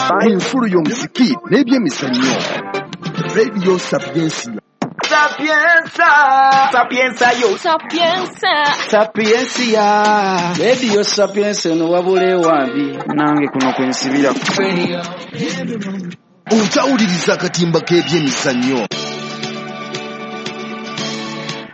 Enfulu y'omuziki n'ebyemizannyo. Radio Sapientia. Sapienza, Sapienza yo. Sapienza, Sapientia. Radio Sapienza eno wabula ewambi nange kuno kwensibira. Okyawuliriza akatimba k'ebyemizannyo.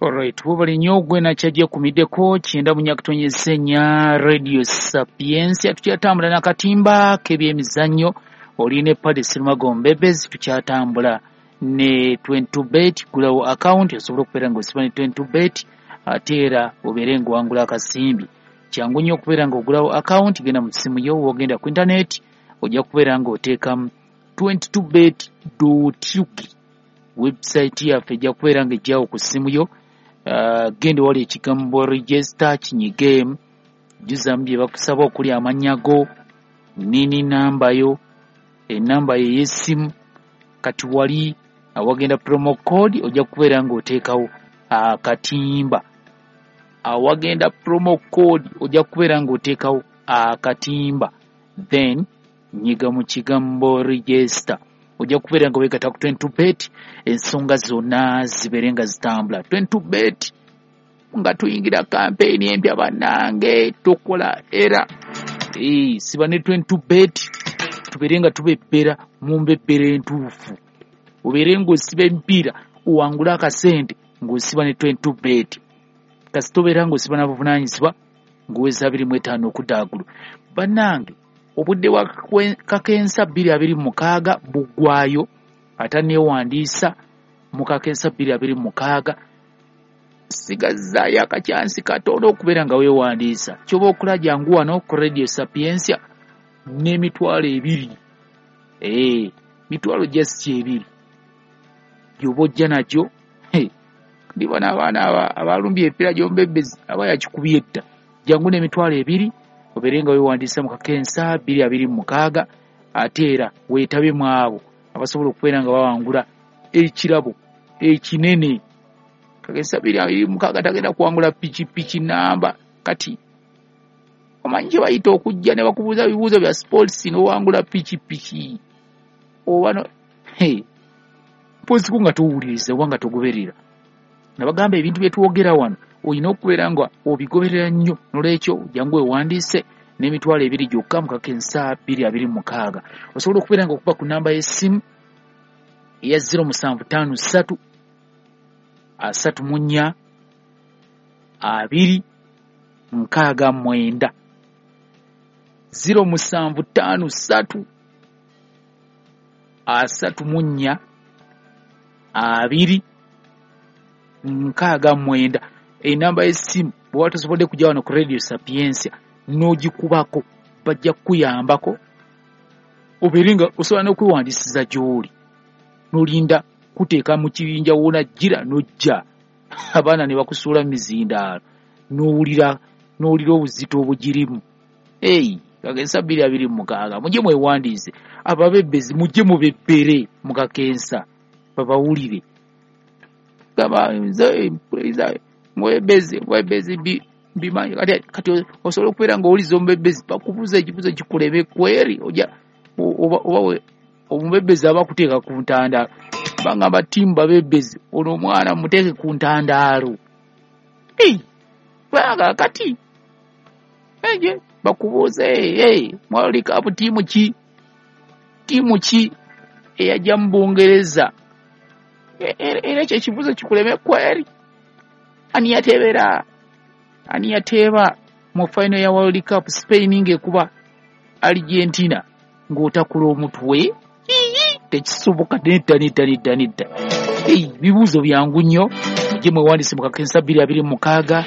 Alright, webale nnyo gwe nakyajja kumiddeko 94.4 Radio Sapientia. Tukyatambula n'akatimba k'ebyemizannyo. Oli ne Paddy Serumago Mbebezi, tukyatambula ne 22bet. Gulawo account osobola okubeera ng'osiba ne 22bet ate era obeere ng'owangula akasimbi. Kyangu nnyo okubeera ng'ogulawo account, genda mu ssimu yo, w'ogenda ku internet ojja kubeera ng'oteekamu 22bet.ug. Website yaffe ejja kubeera ng'ejjawo ku ssimu yo. Genda wali ekigambo register kinyigeemu, jjuzaamu bye bakusaba okuli amannya go, nini namba yo, enamba yo ey'essimu. Kati wali awagenda promo code ojja kubeera ng'oteekawo akatimba. Awagenda promo code ojja kubeera ng'oteekawo akatimba, then nyiga mu kigambo register. Ojja kubeera nga weegatta ku 22bet, ensonga zonna zibeere nga zitambula. 22bet nga tuyingira kampeyini empya bannange, tokola era siba ne 22bet, tubeere nga tubebbera mu mbebbera entuufu. Obeere ng'osiba emipiira owangule akasente ng'osiba ne 22bet. Kasita obeera ng'osiba n'abuvunaanyizibwa ng'oweza 25 okudda waggulu. Bannange, obudde bwa kakensa 2026 buggwayo, ate neewandiisa mu kakensa 2026. Sigazzaayo akakyansi katono okubeera nga weewandiisa. Ky'oba okola jangu wano ku Radio Sapientia n'emitwalo ebiri. Mitwalo just ebiri gy'oba ojja nagyo. Ndiba n'abaana abalumbye emipiira gy'omubebbezi aba yakikubye edda. Jangu n'emitwalo ebiri obeere nga weewandiisa mu kakensa 2026, ate era weetabe mu abo abasobola okubeera nga bawangula ekirabo ekinene. Kakensa 2026 tagenda kuwangula pikipiki namba. Kati omanyi kye bayita okujja ne bakubuuza bibuuzo bya sports n'owangula pikipiki oba no mpoziku nga towuliriza oba nga togoberera. Nabagamba ebintu bye twogera wano olina okubeera nga obigoberera nnyo. Nolwekyo jangu weewandiise n'emitwalo ebiri gyokka mu kakensa 2026. Osobola okubeera nga okuba ku namba y'essimu eya 0753 34 2 69. 0753 34 2 69. Enamba y'essimu bw'oba tosobodde kujja wano ku Radio Sapientia n'ogikubako, bajja kukuyambako obeere nga osobola n'okwewandiisiza gy'oli, n'olinda kuteeka mu kibinja w'onajjira n'ojja, abaana ne bakusuula mu mizindaalo n'owulira obuzito obugirimu. Kakensa 2026 mujje mwewandiise. Ababebbezi mujje mubebbere mu kakensa babawulire. Gamba nze mpuliriza mwebezi mbimanyi. Kati osobola okubeera ng'owuliza omubebbezi bakubuuza ekibuuzo kikuleme kweri, ojja oba omubebbezi aba akuteeka ku ntandaalo. Bangamba ttiimu babebbezi, ono omwana muteeke ku ntandaalo. Kubanga kati bakubuuze World Cup ttiimu ki? Ttiimu ki eyajja mu Bungereza? Era ekyo ekibuuzo kikuleme kweri. Ani yateebera? Ani yateeba mu final ya World Cup Spain ng'ekuba Argentina ng'otakula omutwe? Tekisoboka, nedda nedda nedda nedda. Bibuuzo byangu nnyo. Mujje mwewandiise mu kakensa 2026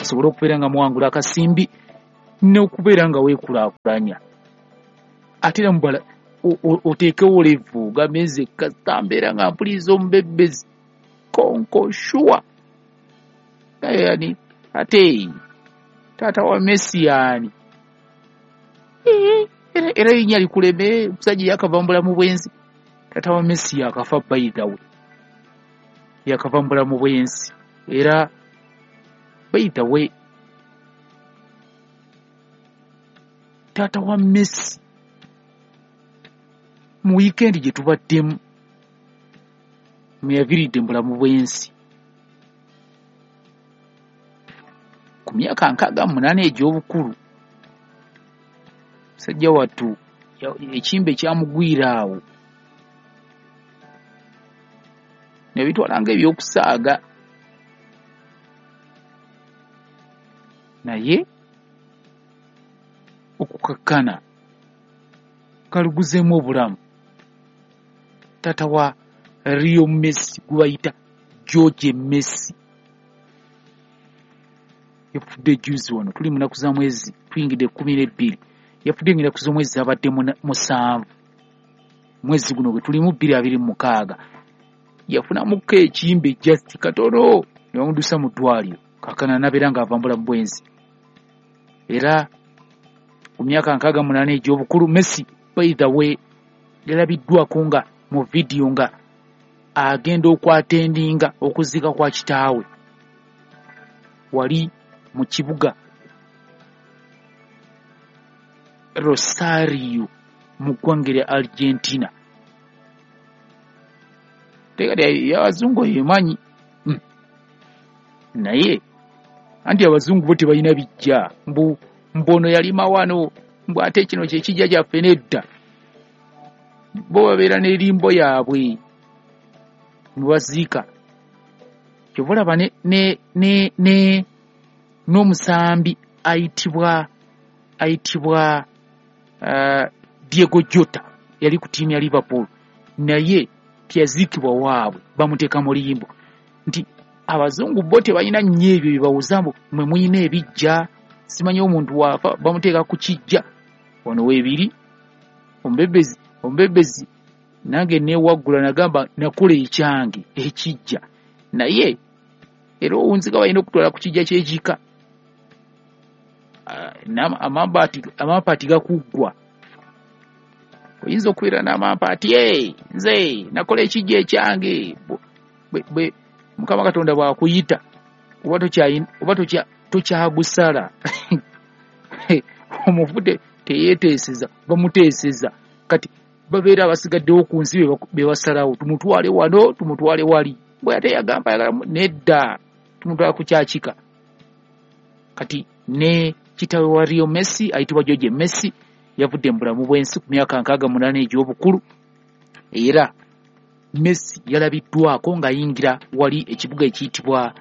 osobole okubeera nga muwangula akasimbi n'okubeera nga weekulaakulanya. Ate era mubala oteekewo levu ogambe nze kasita mbeera nga mpuliriza omubebbezi konko sure. Yani ate taata wa Messi yani era erinnya likuleme, omusajja yakava mu bulamu bw'ensi. Taata wa Messi yakafa, by the way, yakava mu bulamu bw'ensi. Era by the way, taata wa Messi Mu wiikendi gye tubaddemu mweyaviiridde mu bulamu bw'ensi ku myaka 68 egy'obukulu. Musajja wattu ekimbe kyamugwira awo nebitwala nga ebyokusaaga, naye okukakkana kaluguzeemu obulamu. Taata wa Leo Messi gwe bayita George Messi yafudde juzi wano, tuli munaku za mwezi tuyingidde 12, yafudde nga ennaku z'omwezi zabadde 7 mwezi guno gwe tulimu 2026. Yafunamuko ekimbe just katono ne bamudusa mu ddwaliro, kakana nabeera ng'ava mu bulamu bw'ensi. Era ku myaka 68 egy'obukulu, Messi by the way yalabiddwako nga mu vidiyo nga agenda okwatendinga okuziika kwa kitaawe wali mu kibuga Rosario mu ggwanga erya Argentina. Tekati abazungu emanyi naye anti abazungu bo tebalina bijja, mbu mbono yalima wano, mbu ate kino kyekijja kyaffe. Nedda, bo babeera n'erimbo yaabwe nebaziika. Kyova olaba ne n'omusambi ayitibwa Diego Jota yali ku ttiimu ya Liverpool, naye teyaziikibwa waabwe, bamuteeka mu limbo. Nti abazungu bo tebalina nnyo ebyo byebawuza mbu mwe muyina ebijja, simanyi omuntu waafa bamuteeka ku kijja. Wano weebiri omubebezi omubebezi nange newaggula nagamba nakola ekyange ekijja, naye era owunzika balina okutwala ku kijja kyekika. Amampaati gakuggwa, oyinza okubeera n'amampaati, nze nakola ekijja ekyange. Bwe Mukama Katonda bw'akuyita oba tokyagusala, omufu teyeeteeseza, bamuteeseza. Kati babeera abasigaddewo ku nsi be basalawo, tumutwale wano, tumutwale wali. Bwe ate yagamba ayagala nedda, tumutwala ku kyakika. Kati ne kitaawe wa Leo Messi ayitibwa George Messi yavudde mu bulamu bw'ensi ku myaka 68 egy'obukulu. Era Messi yalabiddwako ng'ayingira wali ekibuga ekiyitibwa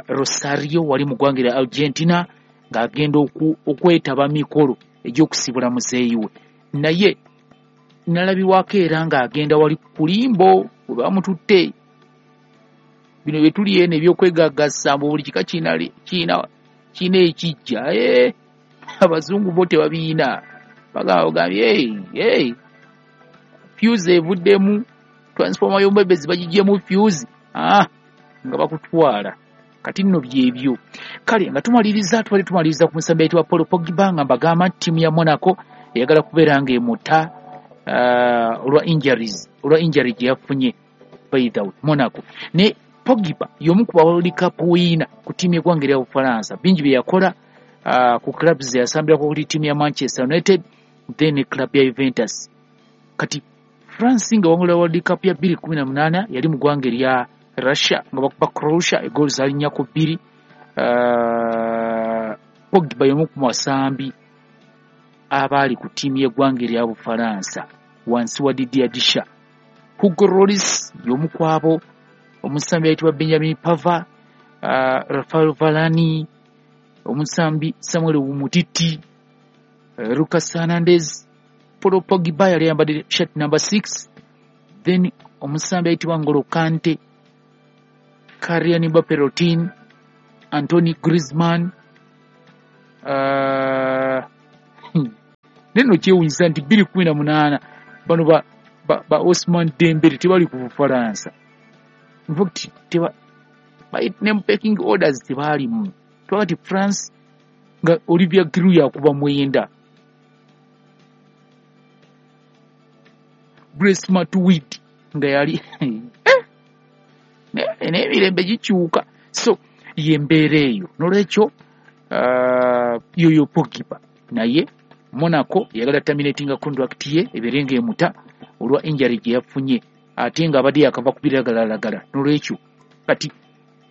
Rosario wali mu ggwanga erya Argentina ng'agenda okwetaba mikolo egy'okusibula muzeeyi we, naye nalabibwako era ng'agenda wali ku limbo we bamututte. Bino bye tuli eno ebyokwegagasa mbu buli kika kirina ekijja, abazungu bo tebabiina. Bagamba bugambye hey, fuse evuddemu, transformer y'omwebezi bagigyemu fuse, nga bakutwala. Kati nno byebyo. Kale nga tumaliriza, tubadde tumaliriza ku musambi ayitibwa Paul Pogba, nga mbagamba nti ttiimu ya Monaco eyagala kubeera ng'emuta olwa injuries, olwa injury gye yafunye. By the way, Monaco ne Pogba y'omu ku ba World Cup winner ku ttiimu y'eggwanga erya Bufalansa. Bingi bye yakola ku clubs yasambirako kuli ttiimu ya Manchester United, then ne club ya Juventus. Kati France nga wangula World Cup ya 2018 yali mu ggwanga erya Russia nga bakuba Croatia egoolo zaali 4-2. Pogba y'omu ku basambi abaali ku ttiimu y'eggwanga erya Bufalansa wansi wa Didier Deschamps. Hugo Lloris y'omu ku abo, omusambi ayitibwa Benjamin Pavard, Rafael Varane, omusambi Samuel Umtiti, Lucas Hernandez. Paul Pogba yali ayambadde shirt number 6. Then omusambi ayitibwa N'Golo Kante, Kylian Mbappe Lottin, Antoine Griezmann. Neno kyewunyisa nti 2018 bano ba Ousmane Dembele tebali ku Bufalansa. In fact, teba ne pecking orders tebaalimu. Twakati France nga Olivier Giroud yakuba 9, Blaise Matuidi nga yali n'emirembe gikyuka. So yembeera eyo nolwekyo yoyo Pogba, naye Monaco yagala terminatinga contract ye ebeere ng'emuta olwa injury gye yafunye, ate nga abadde yakava ku biragalalagala. N'olwekyo kati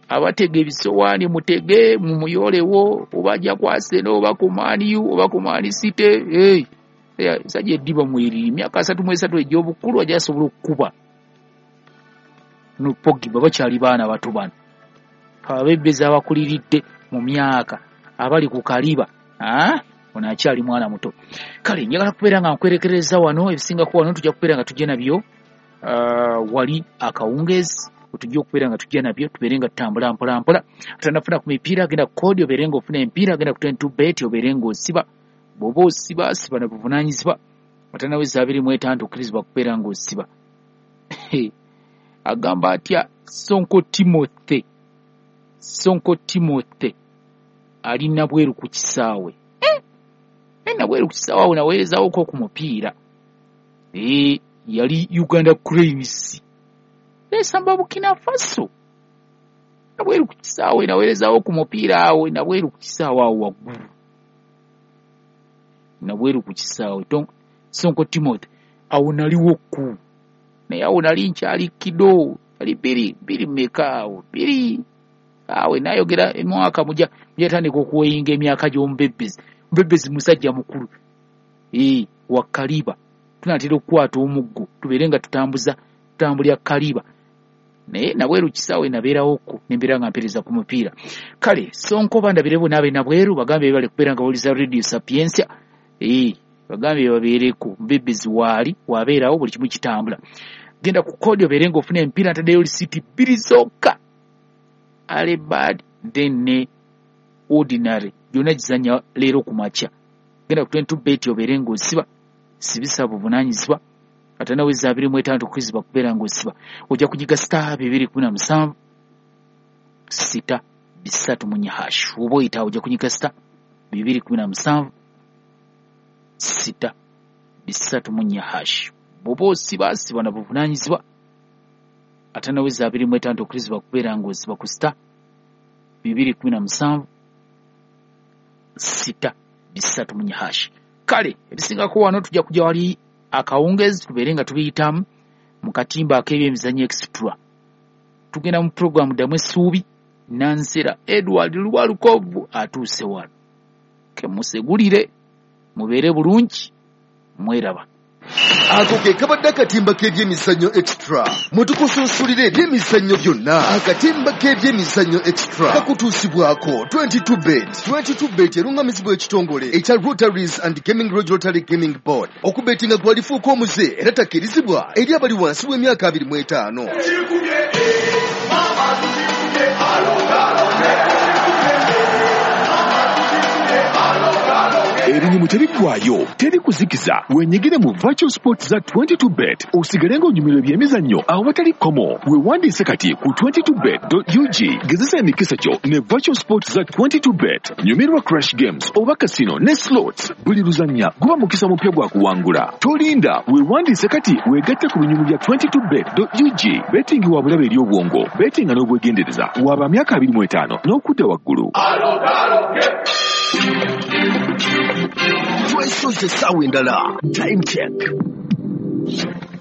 abatega ebisowaani mutege mumuyolewo, oba ajja ku Arsenal oba ku Man U oba ku Man City. Sajja eddiba mweriri, emyaka 33 egy'obukulu ajja asobola okukuba. No Pogba bakyali baana bato bano, abebezi abakuliridde mu myaka abali ku kaliba, ono akyali mwana muto. Kale njagala kubeera nga nkwerekereza wano, ebisingako wano tujja kubeera nga tujja nabyo wali akawungeezi, tujja okubeera nga tujja nabyo, tubeere nga tutambula mpola mpola. Atanafuna ku mipiira agenda ku kodi obeere nga ofuna emipiira, agenda ku 22 bet obeere nga osiba. Bw'oba osiba siba na buvunaanyizibwa. Atanaweza 25 okkirizibwa kubeera nga osiba. Agamba atya Sonko Timothy? Sonko Timothy ali nabweru ku kisaawe. Nabweru ku kisaawe awo naweerezawoko ku mupiira. Yali Uganda Cranes esamba Burkina Faso. Nabweru ku kisaawe naweerezawo ku mupiira awo, nabweru ku kisaawe awo waggulu, nabweru ku kisaawe. Sonko Timothy awo naliwo ku, naye awo nali nkyali kido, ali biri mmeka awo, biri awe nayogera emwaka mujja tandika okuweyinga emyaka gy'omubebezi. Omubebezi musajja mukulu wa kaliba, tunatera okukwata omuggo tubeere nga tutambulya kaliba. Naye nabweru kisaawe nabeerawokko nembeera nga mpeereza ku mupiira. Kale Sonko bandabire bo naabe nabweru, bagambe bale kubeera nga bawuliza Radio Sapientia. Bagambe babeereko, mubebezi waali wabeerawo buli kimu kitambula. Genda ku kodi obeere ng'ofuna emipiira, ntaddeyo lisiti 2 zokka, ale bad then ne ordinary, gyonna gizannya leero ku makya. Genda ku 22 bet obeere ng'osiba, sibisa buvunaanyizibwa. Atanaweza 25 okkirizibwa kubeera ng'osiba. Ojja kunyiga star 217 6 3 hash. Oba oyita ojja kunyiga star 217 6 3 hash. Bw'oba osiba siba na buvunaanyizibwa. Atanaweza 25 okkirizibwa kubeera ng'osiba ku star 217 6 3 hash. Kale ebisingako wano tujja kujja wali akawungezi tubeere nga tubiyitamu mu katimba ak'ebyemizannyo extra. Tugenda mu puroguramu ddamu essuubi. Nansera Edward Lwalukovu atuuse wano, kemusegulire mubeere bulungi, mweraba. Ako ke kabadde akatimba k'ebyemizannyo extra, mwe tukusunsulira ebyemizannyo byonna. Akatimba k'ebyemizannyo extra kakutuusibwako 22 bet. 22 bet erungamizibwa ekitongole ekya Rotaries and Gaming Regulatory Gaming Board. Okubetinga gwalifuuka omuze era takkirizibwa eri abali wansi w'emyaka 25. Ebinyumu tebiggwayo, teri kuzikiza. Wenyigire mu virtual sports za 22 bet osigale ng'onyumirwa ebyemizannyo awatali kkomo. Weewandiise kati ku 22bet.ug. Gezesa emikisa gyo ne virtual sports za 22 bet. Nyumirwa crash games oba casino ne slots. Buli luzannya guba mukisa mupya gwa kuwangula. Tolinda, weewandiise kati weegatte ku binyumu bya 22bet.ug. Betting wa bulabe eri obwongo, bettinga n'obwegendereza. Waba myaka 25 n'okudda waggulu. Twesoze essaawa endala. Time check.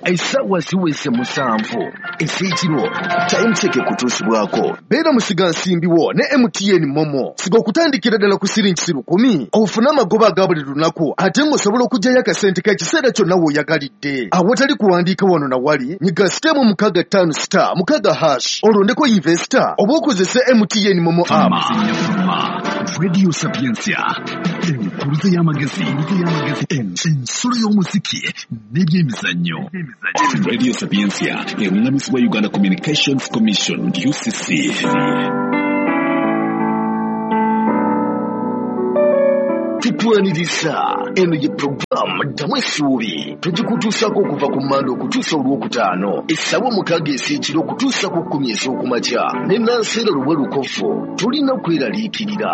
Essaawa ziweze 7 ez'ekiro. Time check ekutuusibwako. Beera musigansimbi wo ne MTN Momo. Siga okutandikira ddala ku siringi 10,000 ofune amagoba aga buli lunaku, ate ng'osobola okuggyayo akasente k'ekiseera kyonna w'oyagalidde. Awatali kuwandiika wano na wali, nyiga star 65 star 6 hash olondeko investor oba okozese MTN Momo app. Radio Sapientia, enkuluze y'amagezi, ensolo y'omuziki n'ebyemizannyo. Radio Sapientia erungamizibwa Uganda Communications Commission UCC. Tukwaniriza eno ye puroguramu ddamu essuubi. Tugikutuusaako okuva ku Mmande okutuusa Olwokutaano essaawa 6 ez'ekiro okutuusa ku 10 ez'okumakya ne Nansera Luwelukofu. Tulina kweraliikirira.